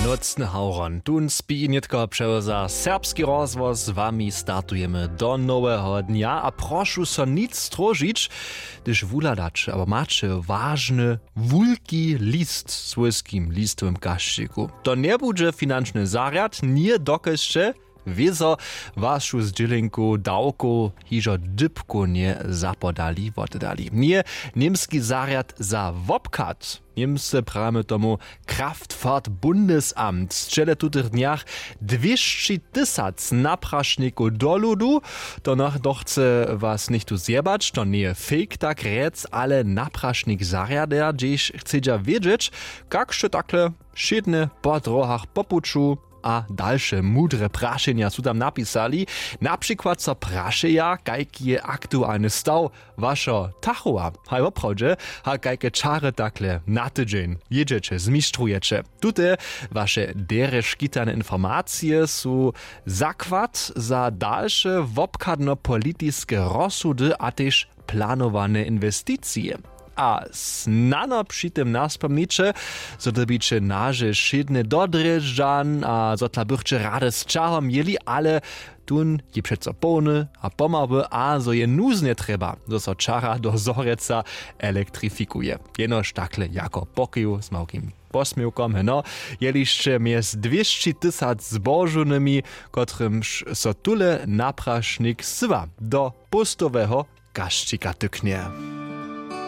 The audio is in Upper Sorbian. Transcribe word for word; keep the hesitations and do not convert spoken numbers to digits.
Nocny hawron tón spi nětko přewza serbski rozhłos z wami startujemy do noweho dnja a prošu so nic stróžić, hdyž wuhladaće abo maće wažny wulki list w swójskim listowym kašćiku. To njebudźe finančny zarjad, nje dokelž sće wězo wašu zdźělenku dawkow hižo dypkownje zapodali wottedali, nje němski zarjad za wobchad. Němsce prajemy tomu Kraftfahrtbundesamt sćele w tutych dnjach dwěsći tysac naprašnikow do ludu. To nach dochce was něchtó zjebać, to njeje fake tak rjec, ale naprašnik zarjadja, hdźež chcedźa wědźeć, kak sće takle wšědne po dróhach po puću. A dalše mudre prašenja su tam napisali, na přikład so prašeja, kajki je aktualny staw wašeho tachowa haj woprawdźe, a kajke čary takle na tydźeń jědźeće, zmištrujecie. Tute waše derje škitane informacije su zakład za dalše wobchadnopolitiske rozsudy a tež planowane inwesticije. A snano při tym naspomniće, zo dyrbiće naše wšědne do drježdźan a zo tla bychće rady z ćahom jěli, ale tón je přeco połny a pomały a zo je nuznje trjeba, zo so ćara do zhorjeca elektrifikuje. Jenož takle jako pokoju z małkim posměwkom heno. Jelišće mjez dwěsći tysac zbožownymi, kotrymž so tule naprašnik syła do póstoweho kašćika tyknje.